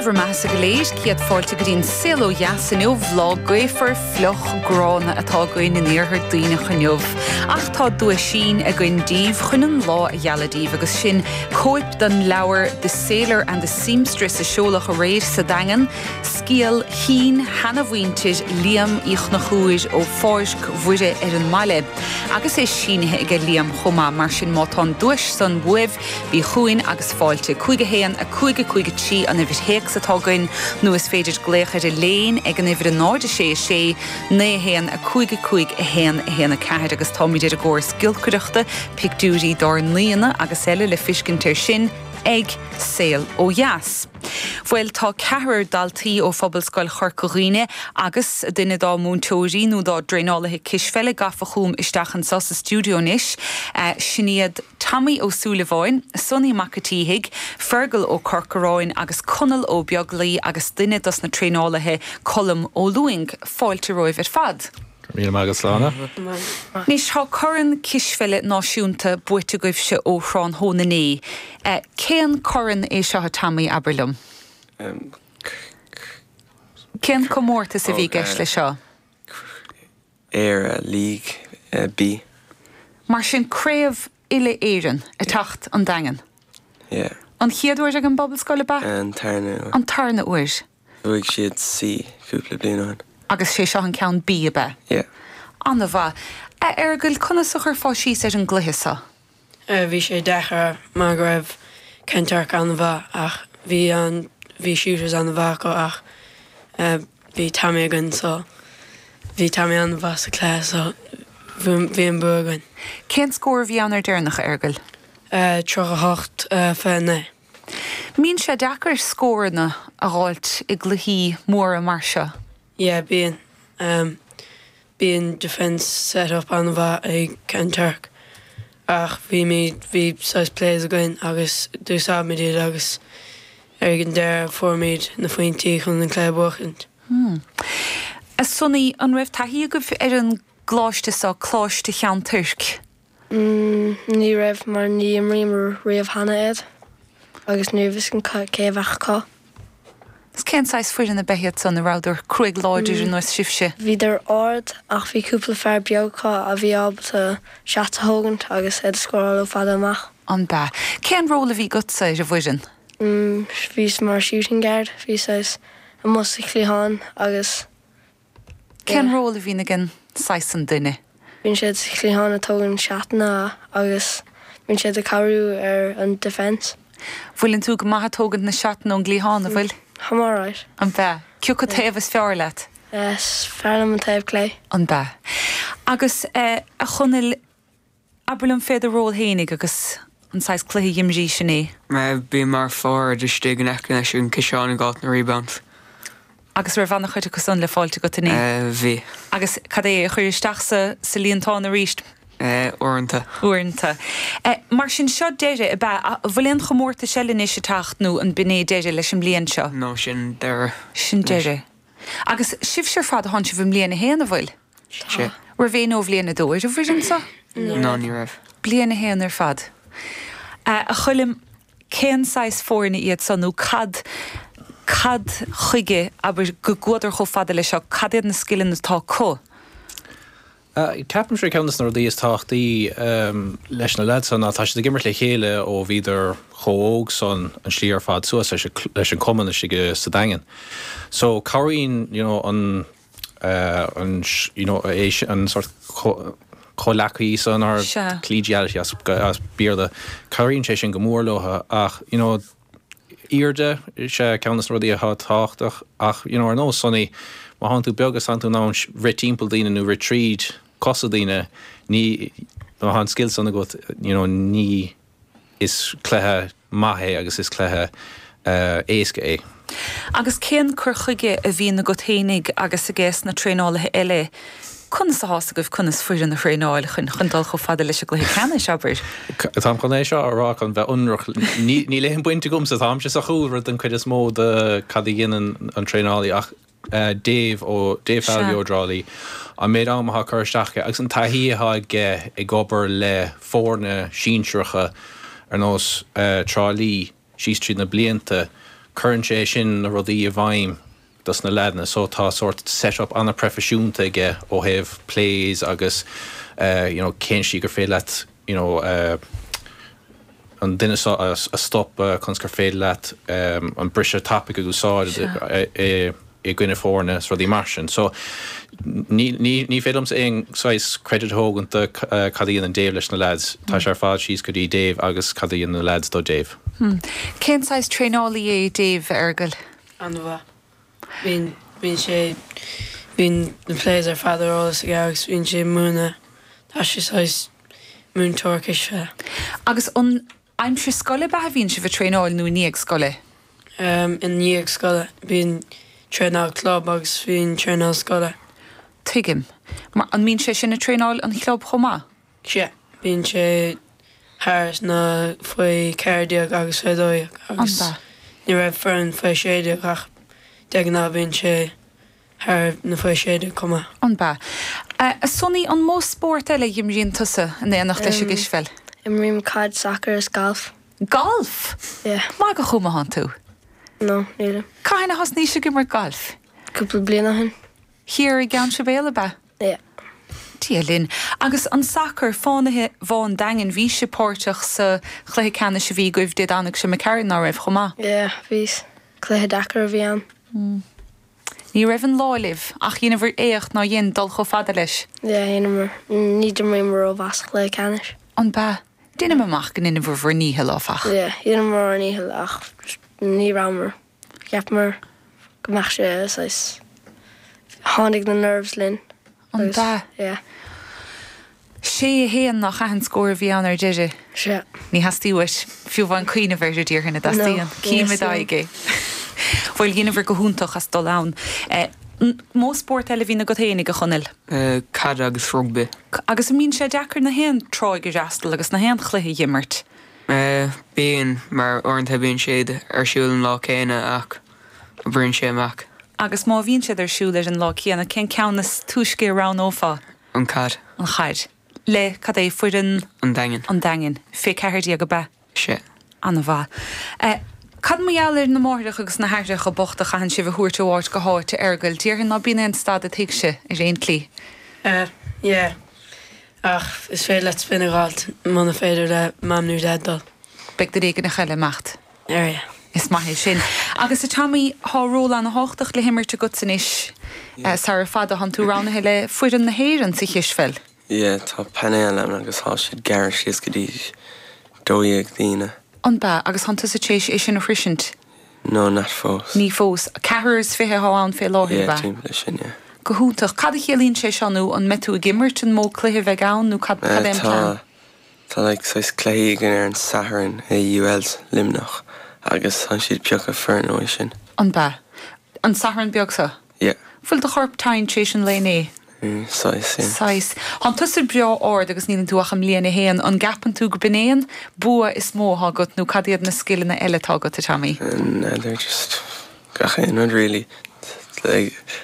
bhur mbeathasa go léir, céad fáilte go dtí an Saol Ó Dheas inniu. Lá gaofar, fliuch, gránna atá againn in iarthar Duibhneach inniu. Ach tá duaisín againn daoibh chun an lá a ghealadh daoibh agus sin cóip den leabhar The Sailor and the Seamstress a seoladh aréir sa Daingean, scéal shín-sheanamhuintir Liam Uí Chonchúir ó Pháirc Mhuire ar an mbaile. Agus é sínithe aige Liam chomh maith, mar sin má tá an duais san uaibh, Bí chugainn agus fáilte. 5 1 5 5 3 an uimhir théacs atá againn nó is féidir glaoch ar an léin ag an uimhir 0 6 6 9 1 5 5 1 1 4 agus táimid ar an gcóras giolcaireachta, pictiúirí dár n-aíonna agus eile le fiscint air sin ag Saol Ó Dheas. Bhuel, tá ceathrar daltaí ó Phobalscoil Chorca Dhuibhne agus duine dá múinteoirí nó dá dtraenálaithe cispheile gafa chugam isteach anseo sa stiúideo anois. Sin iad. Tommy Ó Súilleabháin, Sonny Mac a' tSíthigh, Fergal Ó Corcoráin agus Conall Ó Beaglaoi agus duine dos na traenálaithe, Colm Ó Lúing. Fáilte romhaibh ar fad. Go raibh míle maith agat, Sláine. Anois, tá corn cispheile náisiúnta buaite agaibhse ó thráthnóna inné. Cén corn é seo, a Tommy, abair liom? Cén comórtas a bhí i gceist leis seo? Éire League B. Mar sin craobh uile-Éireann ag teacht an Daingean. Yeah. An chéad uair ag an bPobalscoil ab ea? An tarna uair. An tarna uair. Bhuaigh siad C cúpla bliain ó shin. Agus sé seo an ceann B ab ea? Yeah. An-mhaith. A Fheargail, conas a chuirfeá síos ar an gcluiche seo? Bhí sé deacair mar go raibh Kanturk an-mhaith ach bhí an bhí shooters an-mhaith acu ach bhí Tommy againn so bhí Tommy an-mhaith sa cluiche so bhí an bua againn. Cén scór a bhí ann ar deireanach, a Fheargail? 38, 29. Mbíonn sé deacair scóranna a dh'fháilt i gcluichí móra mar seo? Yeah, bíonn. Bíonn defence set up an-mhaith ag Kanturk ach bhímid, bhí saghas plays againn agus d'úsáidimid iad agus ag an deireadh fuairimid na phointí chun an cluiche a bhuachaint. Hmm. A Sonny, an raibh taithí agaibh ar an gcoláiste seo, Coláiste Cheann Toirc? Ní raibh mar ní imríomar riamh cheana iad agus ní raibh fhios againn cé a bheadh acu. Is cén saghas foireann ab ea iad san, an rabhadar cruaidh láidir ar nós sibhse? Bhíodar ard ach bhí cúpla fear beag acu a bhí ábalta shots a thógaint agus iad a scóráil ó fada amach. An b'ea? Cén ról a bhí agatsa ar an bhfoireann? Bhíos mar shooting guard, bhíos saghas amuigh sa chliathán agus. Cén ról a bhíonn ag an saghas san duine? Bíonn siad sa chliathán ag tógaint seatanna agus bíonn siad ag cabhrú ar an defence. Bhfuileann tú go maith ag tógaint na seatanna ón gcliathán, an bhfuil? Táim alright. An b'ea? Cé acu taobh is fearr leat? Is fearr liom an taobh clé. An b'ea? Agus a Chonaill, Abair liom fé do ról fhéinig agus an saghas cluiche a dh'imrís inné. Bím mar forward istigh in aice leis an ciseán ag fáilt na rebounds. Agus raibh ana-chuid acu san le fáilt agat inné? Bhí. Agus cad é, a chur isteach sa sa líontán arís? Uaireanta. Uaireanta. Mar sin seo deireadh, ab ea? An bhfuil aon chomórtais eile anois ag teacht nó an b'in é deireadh leis an mbliain seo? No, sin deireadh. Sin deireadh. Agus sibhse ar fad, thánn sibh i mbliain a haon, an bhfuil? Tá. Raibh éinne ó bhliain a dó ar an bhfoireann seo? No, ní raibh. Bliain a haon ar fad. A Choilm, cén saghas foirne iad seo nó cad, cad chuige, abair, go gcuadar chomh fada leis seo, cad iad na scileanna atá acu? Ceapaimse ceann de na rudaí is tábhachtaí leis na leaids seo ná tá siad ag imirt le chéile ó bhíodar chomh óg san an slí ar fad suas leis an cumann istigh sa Daingean. So cabhraíonn you know an an you know é sin an sort comhleacaí san or collegiality as as Béarla cabhraíonn sé sin go mór leo ach you know airde is ea ceann de na rudaí atá tábhachtach ach you know ar nós Sonny má thánn tú beag is tánn tú in ann rith timpeall daoine nó rith tríd cosa daoine ní má tá an scil san agat you know ní Is cluiche maith é agus is cluiche éasca é. Agus cén cur chuige a bhíonn agat fhéinig agus aige sna traenálaithe eile? Conas atá's agaibh conas foireann a thraenáil chun chun dul chomh fada leis an gcluiche ceannais, abair? Táim chun é seo a rá chun bheith ionraic, níl aon baint agamsa, táimse sa chúlra den chuid is mó de cad a dhéanann an traenálaí ach Dave ó Dave Falvey ó Dhrá Lí, an méid ama atá curtha isteach aige agus an taithí atá aige ag obair le foirne sinsearacha ar nós Trá Lí síos tríd na blianta. Cuireann sé sin na rudaí i bhfeidhm dos na leaideanna so tá sórt set up an-proifisiúnta aige ó thaobh plays agus you know cén slí gur féidir leat you know an duine seo a stopadh conas gur féidir leat an briseadh tapaidh a úsáid i i gcoinne foirne is rudaí mar sin. So ní ní féidir liomsa aon saghas credit a thógaint do cad a dhéanann Dave leis na lads. Tá sé ar fad síos go dtí Dave agus cad a dhéanann na lads do Dave. Cén saghas traenálaí é Dave, a Fheargail? An-mhaith. Bíonn, bíonn sé, bíonn na plays ar fad ar eolas aige agus bíonn sé ag múineadh, tá sé saghas múinteoir cispheile. Agus an aimsir scoile ab ea a bhíonn sibh ag traenáil nó i ndiaidh scoile? I ndiaidh scoile. Bíonn traenáil club agus bíonn traenáil scoile. Tuigim. Mar, an mbíonn sé sin ag traenáil an chlub chomh maith? Sea. Bíonn sé thar na faoi 14 agus faoi 12 agus ní raibh foireann faoi 16 ach de ghnáth bíonn sé thar na faoi 16 chomh maith. An b'ea? A Sonny, an mó spórt eile a dh'imríonn tusa in éineacht leis an gcispheil? Imrím caid, sacar is galf. Galf? Yeah. Maith go chomh maith thánn tú? No, nílim. Cathain a thosnaís ag imirt gailf? Cúpla bliain ó shin. Thiar i gCeann Sibéal, ab ea? Yeah. Dia linn. Agus an sacar, Fánaithe Bhá an Daingin, bhís sibh páirteach sa chluiche ceannais a bhí agaibh Dé Domhnaigh seo imigh tharainn, ná raibh, chomh maith? Yeah, bhíos. Cluiche deacair a bhí ann. Ní raibh an lá libh, ach dheineabhair éacht nár dhein dul chomh fada leis. Yeah, dheineamar. Ní d'imríomar rómhaith sa chluiche ceannais. An b'ea? Deinim amach go ndeineabhair bhur ndícheall, áfach. Yeah, dheineamar ár ndícheall ach ní rabhamar. Cheapamar go mbeadh sé saghas, tháinig na nerves linn An agus b'ea? yeah. Sé a haon nach ea an scór a bhí ann ar deireadh? Sea. Ní theastaíonn uait fiú amháin cuimhneamh air, a déarfainn, an dteastaíonn? No, ní Cím i theastaíonn. d'aghaidh é. Bhuel, dheineabhair go hiontach as dul ann. Mó spórt eile a bhíonn agat fhéinig, a Chonaill? Caid agus rugbaí. Agus an mbíonn sé deacair na haon tráigh a fhreastal agus na haon chluiche a dh'imirt? Bíonn, mar uaireanta bíonn siad ar siúl an lá céanna ach oibríonn sé amach. Agus má bhíonn siad ar siúl ar an lá céanna, cén ceann is túisce a roghnófá? An chaid. An chaid. Le, cad é, foireann. An Daingin. An Daingin. Fé 14 ab ea? Sea. An-mhaith. Cad mar gheall ar na máithreacha agus na haithreacha bochta a chaitheann sibh a thabhairt ó áit go háit, a Fheargail? Déarfainn ná bíonn aon stad a'd thighse, ar aon tslí. Yeah. Ach is féidir leat spin a dh'fháilt muna féidir le Mam nó Dad dul. Beidh duine éigineach eile ag imeacht. Yeah. Is maith é sin. Agus a Tommy, thá ról ana-thábhachtach le himirt agatsa anois sara fada. Thánn tú roghnaithe le foireann na hÉireann sa chispheil. Yeah, tá painéal ann agus thá siad gearrtha síos go dtí 12 daoine. An b'ea? Agus thánn tusa tar éis é sin a shroisint? No, not fós. Ní fós. Ceathrar is fiche athá ann fé láthair, Yeah, ab ea? timpeall leis sin, yeah. Go hiontach. Cad a chiallaíonn sé seo nó an mbeidh tú ag imirt an mó cluiche a bheidh ann nó cad, cad é an plean? Tá, tá like saghas cluichí againn ar an Satharn i UL Luimneach agus tá siad piocadh foireann uaidh sin. An b'ea? An Satharn beag seo? Yeah. Bhfuil do chorp tinn tar éis an lae inné? Saghas, yeah. Saghas. Thánn tusa breá ard agus níleann tú ach i mbliain a haon. An gceapann tú go b'in é an bua is mó athá agat nó cad iad na scileanna eile atá agat, a Tommy? N'fheadar, just gach aon rud really. Like.